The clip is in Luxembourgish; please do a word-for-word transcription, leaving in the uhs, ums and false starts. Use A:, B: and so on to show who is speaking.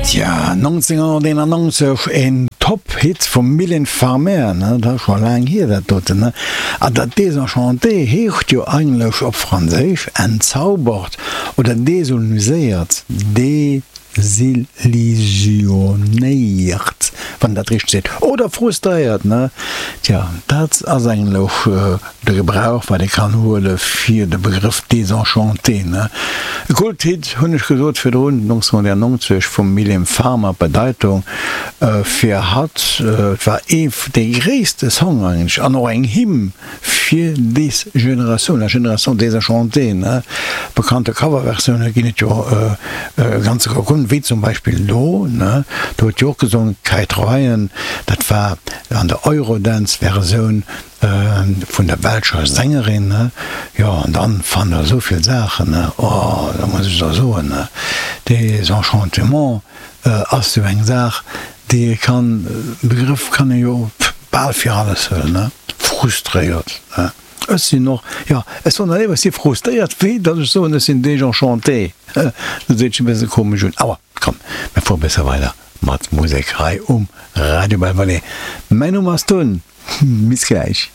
A: Tja, nonzénghonnerteenannonzeg, en Top-Hit vum Mylène Farmer, ne, dat ass scho laang hier dat doten, ne. A dat Désenchanté heescht jo eigentlech op Franséisch entzaubert oder desilluséiert, desillusionéiert, wann een dat richteg seet, oder frustréiert, ne. Tja, dat ass eigentlech de Gebrauch wat ee kann huele fir de Begrëff Désenchanté, ne? E Kulthit, hunn ech gesot virdrun, nonzénhunnertnonzeg vum Mylène Farmer. D'Bedeitung fir hatt, et war ee dee gréisste Song eigentlech an och eng Hymn fir des Generatioun, la génération désenchantée, ne? Bekannte Coverversioune ginn et jo e ganze Koup, wéi zum Beispill do, ne? Do huet jo och gesongen d'Kate Ryan, dat war an der Eurodance-Versioun. Vun der belscher Sängerin, ne? Jo, an dann fannt der esou vill Saachen, ne? Oh, da muss ech der soen, ne, Désenchantement ass jo eng Saach, déi ee kann, Begrëff kann ee jo bal fir alles huelen, ne? Frustréiert, ne? Ech sinn och, jo, ech soen der léiwer, ech si frustréiert, wéi datt ech soen, ech sinn désenchanté. Dat seet sech e bësse komesch un. Awer komm, mir fuere besser weider mat Musek hei um Radio Belvallet. Mäin Numm ass Tun. Bis gläich.